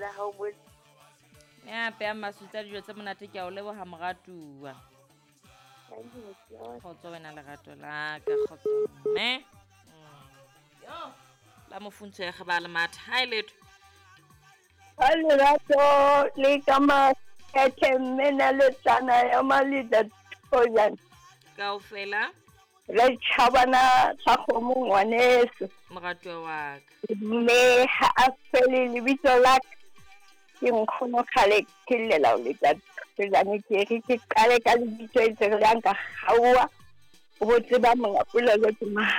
la hao mo. Ya peang masutsa dijo tse monate, ke a o leboha moratuwa. Thank you, motho. Kgotso wena lerato la ka, kgotso mme. Yo, la mofuntsho ya ba le matha. Hi letho. Ka lerato le ka makgethe mme na le tsana ya maleta thojana. Kaofela. Re tjhabana sa kgomo ngwaneso. Moratuwa wa ka. Mme ha a fele lebitso la ka. Ke nkgono kgale ke llela ho leta thojane, ke re ke qale ka lebitso e tse re le nka kgaoha. O bo tseba monga polelo ke mang.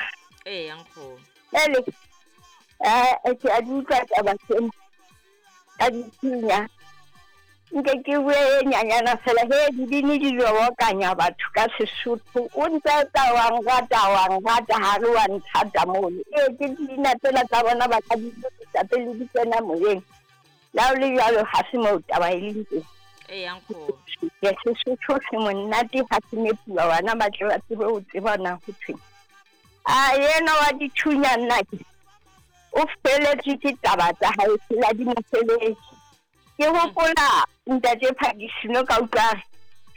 Ee, nkgono. Ele, ke a di utlwa taba tsena. Ka dithunya. Nke ke bue e nyanyana fela, he dibini di lobokanya batho ka Sesotho. O ntse o tla wa nrata, wa nrata, ha re wa nthata mono. Ee, ke dina tsena tsa bona ba ka di lokisa pele di kena moyeng. Le ha ho le jwalo, ha se moo taba e leng teng. Ee, nkgono. Ke Sesotho se monate ha se nepuwa, bana ba tle ba tsebe ho tseba na ho thweng. A yena wa dithunya nna ke o feletswe ke taba tsa hae, tsela di mo feletse. Ke hopola ntate Phakisino ka utlwa re,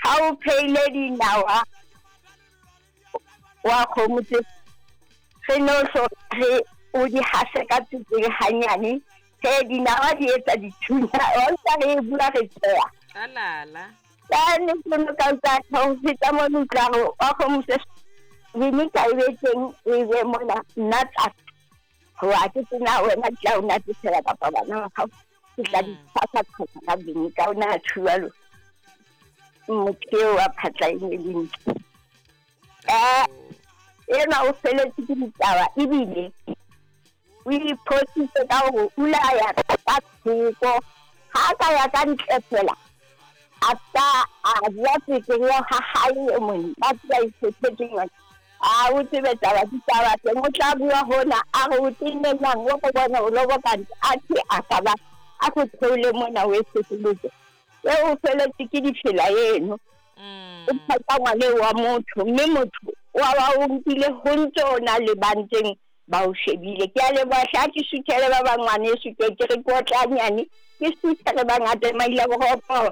ha o pheile dinawa wa kgomo tse, re no hlo re o di hase ka tswekere hanyane, he dinawa di etsa dithunya, wa utlwa re e bua re tsheha. Alala. Ka nnete no ka utlwa ha o feta mono utlwa re wa kgomo tse, vinika e be teng, e be mona, nna tsa hoba ke tsena wena ke tla o natefela kapa bana ba hao. Ke tla di tshasa tshasa ka vinika, o na tjhualo. Motho eo wa phatla e ne le ntle. Enwa o feletse ke ditaba ebile o iphositse ka hore o la ya ka thoko. Ha a ka ya ka ntle fela, a ka a ja tswekere ya ha hae e mong, ba tseba iphethetseng yona. A o tsebe taba ditaba teng, o tla bua hona, a re o tenne jwang, o go bona o loboka ntse, a the a ka ba, a go theole mona o e fetoletse. E o feletse ke difela eno. O phatsa ngwane wa motho, mme motho wa ba o nkile ho ntse o na le ba ntseng ba o shebile. Ke a leboha hle, ha ke suthele ba bang ngwaneso, ke ke re ke otlanyane, ke suthele ba ngata maila boropo.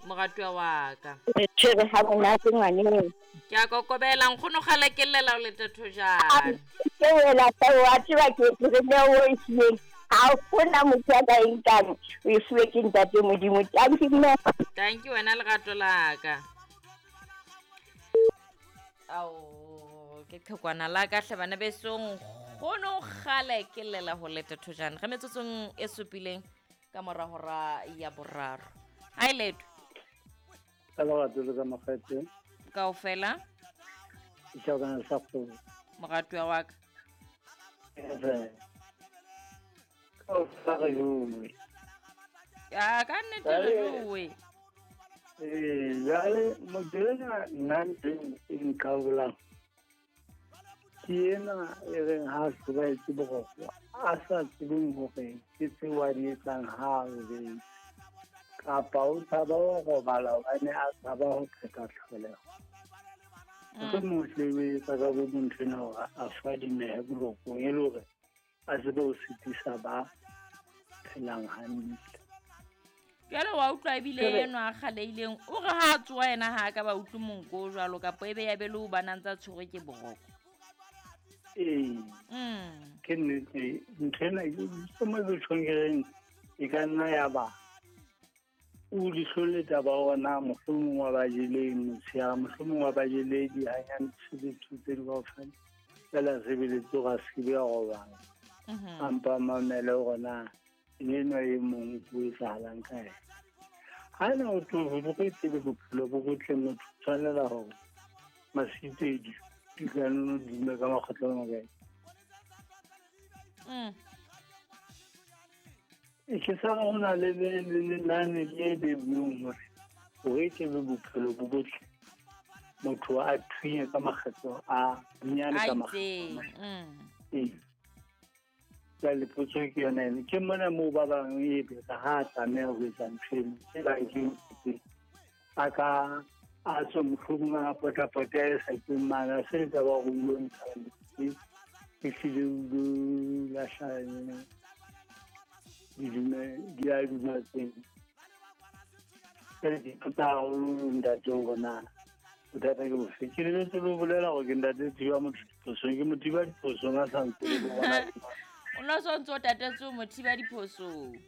Moratuwa wa ka. Re tshwere ha monate ngwaneng. Ke a kokobela, nkgono kgale ke llela o lete thojana. Ke wela fa wa tseba ke re ne o e fileng. Ha hona motho ya ka e nkang, o e fuwe ke ntate Modimo. Thank you, mme. Thank you wena lerato la ka. Ao, ke qhekwana la ka hle bana besong. Nkgono kgale ke llela ho lete thojana. Re metsotsong e supileng ka mora hora ya boraro. Hi Leto. Ka lerato le ka makgethe. Kaofela. Ke tjhabana sa kgomo. Moratuwa wa ka. Kaofela re jowe. Ya, ka nnete re jowe. Ee, jwale motho enwa nna ntho e nqabolang ke ena e reng ha a hlobaetse boroko, a sa tsebeng hore ke tseo a di etsang ha a robetse, kapa o tshaba ho robala hobane a tshaba ho qeta tlholeho. Mohlomong o hlile o etsa ka bo ntho ena hore a fadimehe borokong e le hore a tsebe ho sitisa ba phelang hantle. Jwale wa utlwa ebile enwa a kgaleileng, o re ha a tsoha yena ha a ka ba utlwe monko o jwalo, kapa ebe ya be le ho bana ntse a tshwerwe ke boroko. Ee. Ke nnete, ntho ena ke mo ke tjhong ke reng, e ka nna ya ba o leihlo le taba hore na mohlomong wa ba jeleng motshehare, mohlomong wa ba jele dihanyane tse tse di kaofela, fela sebeletse hore a se ke be a robala. A mpa mamele hore na enwa e mong o etsahalang ka yena. Ha ena o tlo ho re tsebe bophelo bo botle, motho o tshwanela hore masipedi di ka nno dume ka makgetlo a makae. E ke sa re ho na le lenane le bebuweng hore hore e tlebe bophelo bo botle, motho a thunye ka makgetlo a bonyane ka makgetlo a mane. Ee. Jwale potso ke yona eno. Ke mona moo ba bang e be ka ha a tlameha ho etsa ntho eno, e bang ke ntho a ka a tswe mohlomong a potapota e sa keng mane, a se taba hore o ilo ntsha metsi, e hlile o ilo lahla ena. Di dume di a duma teng. Jwale ke ipotsa haholo ntate hore na bothata ke bofe. Ke lebetse le ho bolela hore ke ntate thiba motho diphosong, ke mo thiba diphosong a sa ntse le bona. O no so ntso tatetse o mo thiba diphosong.